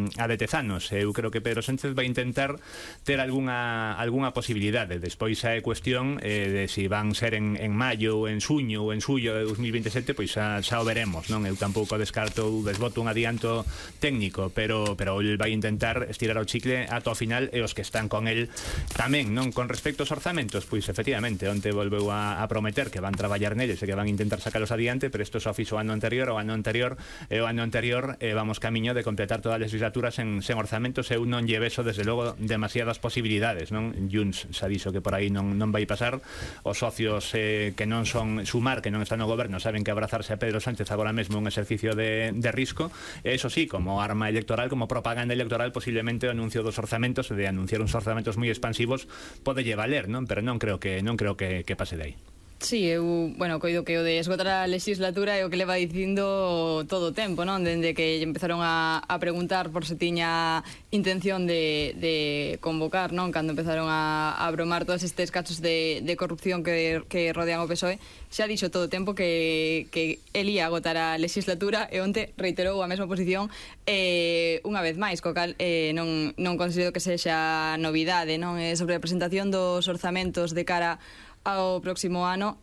de Tezanos. Eu creo que Pedro Sánchez vai intentar ter algunha posibilidade. Despois é cuestión de se van ser en maio, en suño ou en xullo de 2027, pois xa o veremos, non? Eu tampouco descarto ou desboto un adianto técnico, pero el vai intentar estirar o chicle ata o final, e os que están con el tamén, non? Con respecto aos orzamentos, pois efectivamente onte volveu a prometer que van traballar neles e que van intentar sacalos adiante, pero isto só fixo o ano anterior vamos camiño de completar toda a legislatura sen orzamentos. Eu non lle vexo desde logo demasiadas posibilidades, non? Junts xa dixo que por aí non vai pasar. Os socios que non son Sumar, que non están no goberno, saben que abrazarse a Pedro Sánchez agora mesmo é un exercicio de risco. Eso sí, como arma electoral, como propaganda electoral, posiblemente o anuncio dos orzamentos, de anunciar uns orzamentos moi expansivos, pode lle valer, non? Pero non creo que pase de aí. Sí, eu, coido que o de esgotar a legislatura é o que leva dicindo todo o tempo, non? Dende que empezaron a preguntar por se tiña intención de convocar, non? Cando empezaron a bromar todos estes casos de corrupción que rodean o PSOE, xa dixo todo o tempo que el ia agotar a legislatura, e onte reiterou a mesma posición unha vez máis, co cal non considero que sexa novidade, non? Sobre a presentación dos orzamentos de cara ao próximo ano,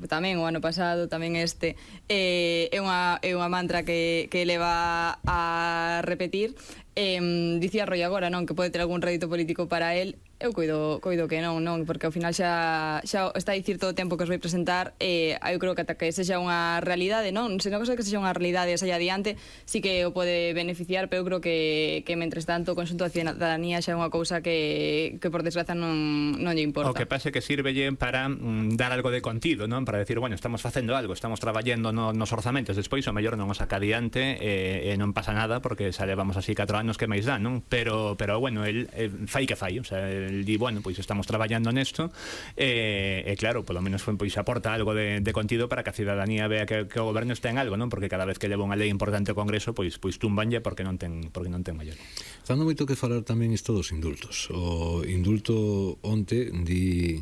tamén o ano pasado, tamén este, é unha mantra que leva a repetir. Dicía Roy agora, non, que pode ter algún rédito político para el. Eu coido que non, porque ao final xa está a dicir todo o tempo que os vai presentar. Eu creo que ata que sexa unha realidade, non? Se non cosa que sexa unha realidade e saia adiante, sí que o pode beneficiar, pero eu creo que mentres tanto o conxunto da cidadanía xa é unha cousa que por desgraza non lle importa. O que pase que sirvelle para dar algo de contido, non? Para decir, bueno, estamos facendo algo, estamos traballando nos orzamentos, despois o mellor non o saca adiante e non pasa nada, porque xa levamos así 4 anos que máis dá, non? Pero bueno, el fai que fai, o sea, el di, bueno, pois estamos traballando nesto, e claro, polo menos pois aporta algo de contido para que a cidadanía vea que o goberno está en algo, non? Porque cada vez que leva unha lei importante ao Congreso, pois tumbanlle porque non ten maior. Dando moito que falar tamén isto dos indultos. O indulto onte di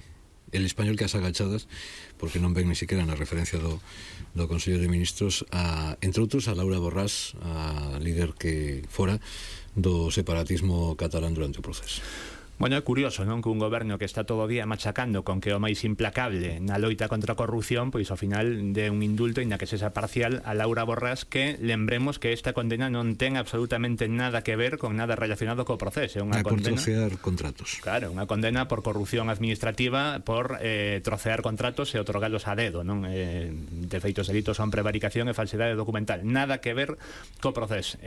el español que as agachadas, porque non ven ni siquiera na referencia do Consello de Ministros, entre outros a Laura Borràs, a líder que fora do separatismo catalán durante o proceso. Bueno, é curioso, non? Que un goberno que está todo o día machacando con que o máis implacable na loita contra a corrupción, pois ao final de un indulto, inda que sexa parcial, a Laura Borràs, que lembremos que esta condena non ten absolutamente nada que ver con nada relacionado co proceso. É unha condena por trocear contratos. Claro, unha condena por corrupción administrativa, por trocear contratos e otorgalos a dedo, non? De feitos delitos son prevaricación e falsidade documental. Nada que ver co proceso.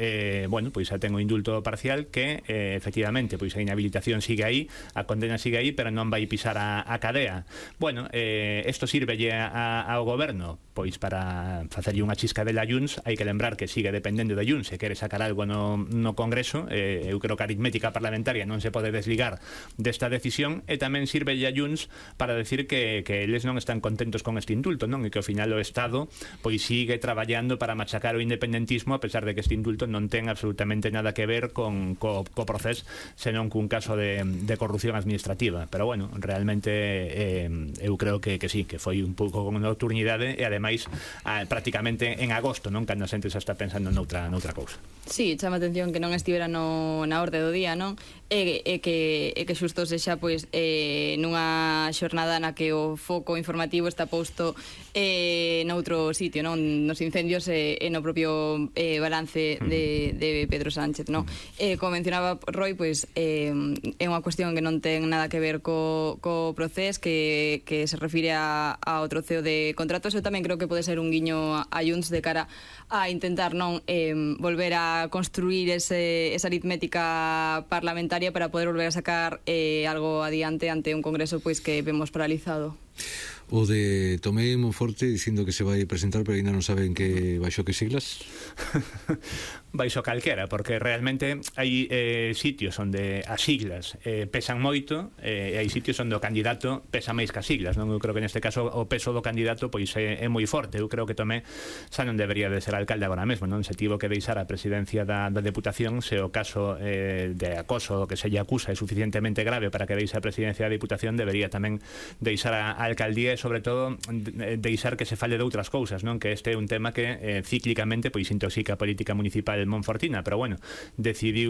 Bueno, pois xa ten o indulto parcial que, efectivamente, pois a inhabilitación sigue aí, a condena sigue aí, pero non vai pisar a cadea. Bueno, isto sirvelle ao goberno pois para facerlle unha chiscadela a Junts. Hai que lembrar que sigue dependendo de Junts, se quere sacar algo no Congreso. Eu creo que a aritmética parlamentaria non se pode desligar desta decisión, e tamén sirvelle a Junts para decir que eles non están contentos con este indulto, non? E que ao final o Estado pois sigue traballando para machacar o independentismo, a pesar de que este indulto non ten absolutamente nada que ver co proceso, senón cun caso de corrupción administrativa. Pero bueno, realmente eu creo que sí, que foi un pouco con nocturnidade, e ademais prácticamente en agosto, non? Cando a xente xa está pensando noutra cousa. Sí, chama a atención que non estivera na orde do día, non? E que xusto sexa pois nunha xornada na que o foco informativo está posto noutro sitio, non? Nos incendios e no propio balance de Pedro Sánchez, non? Como mencionaba Roy, pois é unha cuestión que non ten nada que ver co proceso, que se refire ao troceo de contratos. Eu tamén creo que pode ser un guiño a Junts de cara a intentar non volver a construir esa aritmética parlamentaria para poder volver a sacar algo adiante ante un Congreso pois que vemos paralizado. O de Tomé Monforte dicindo que se vai presentar, pero ainda non saben que baixo que siglas. Baixo calquera, porque realmente hai sitios onde as siglas pesan moito, e hai sitios onde o candidato pesa máis que as siglas, non? Eu creo que neste caso o peso do candidato pois é moi forte. Eu creo que Tomé xa non debería de ser alcalde agora mesmo, non? Se tivo que deixar a presidencia da Deputación, se o caso de acoso que se lle acusa é suficientemente grave para que deixe a presidencia da Deputación, debería tamén deixar a alcaldía, e sobre todo deixar que se fale de outras cousas, non? Que este é un tema que cíclicamente pois intoxica a política municipal monfortina, pero bueno, decidiu